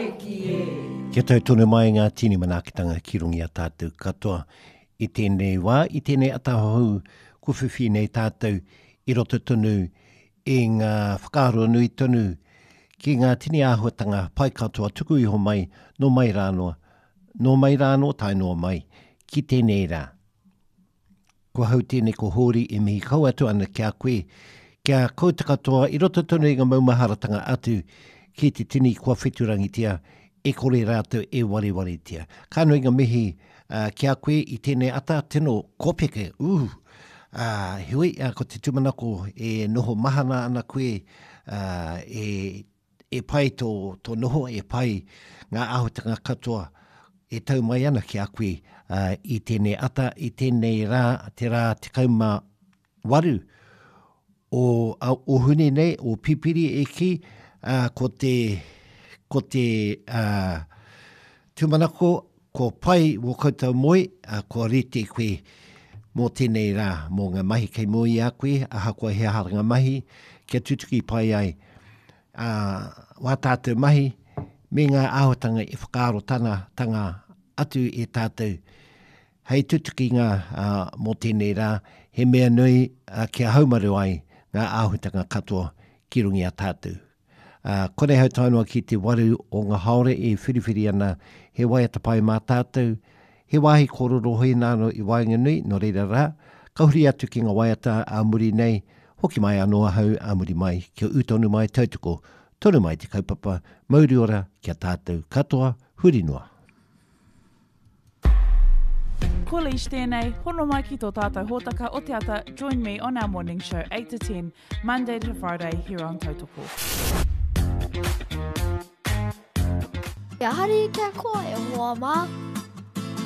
Tāiki e. Kia tau tonu mai ngā tini manaakitanga ki runga i a tātou katoa. I tēnei wā, i tēnei atahou kua whiwhi nei tātou i roto tonu i ngā whakaaro nui tonu ki ngā tini āhuatanga pai katoa tuku iho mai nō mai rānoa, nō mai rānō tae noa mai ki tēnei rā. Ko ahau tēnei ko Hōri e mihi kau atu ana ki a koe, ki a koutou katoa i roto tonu i ngā maumaharatanga atu ki te tini kua wheturangitia, e kore rātou e warewaretia. Ka nui ngā mihi ki a koe i tēnei ata, tino kōpeke, ū! Heoi, ko te tūmanako e noho mahana ana koe, e e pai tō, tō noho, e pai ngā āhuatanga katoa e tau mai ana ki a koe i tēnei ata, i tēnei rā, te rā 18 o, o Hune nei, o Pipiri e kī, ko te, ko te uh, tūmanako, kua pai wō koutou moe, ā, kua rite koe mō tēnei rā, mō ngā mahi kei mua i a koe, ahakoa he aha ngā mahi, kia tutuki pai ai ā, wā tātou mahi me ngā āhuatanga e whakaaro tana, tanga atu e tātou hei tutukinga ā, mō tēnei rā, he mea nui ā, kia haumaru ai ngā āhuatanga katoa ki runga i a tātou. Ā, kore hau tae noa ki te waru o ngā haore e whiriwhiri ana he waiata pai mā tātou, he wāhi kōrero hoi nāno i waenganui, nō reira rā, ka huri atu ki ngā waiata ā muri nei, hoki mai anō ahau ā muri mai, kia ū tonu mai, tautoko tonu mai te kaupapa, mauri ora ki a tātou katoa, huri noa. Ko Leish tēnei, hono mai ki tō tātou hōtaka o te ata Join me on our morning show 8 to 10, Monday to Friday here on Tautoko. Kia hari, kia koa e hoa mā.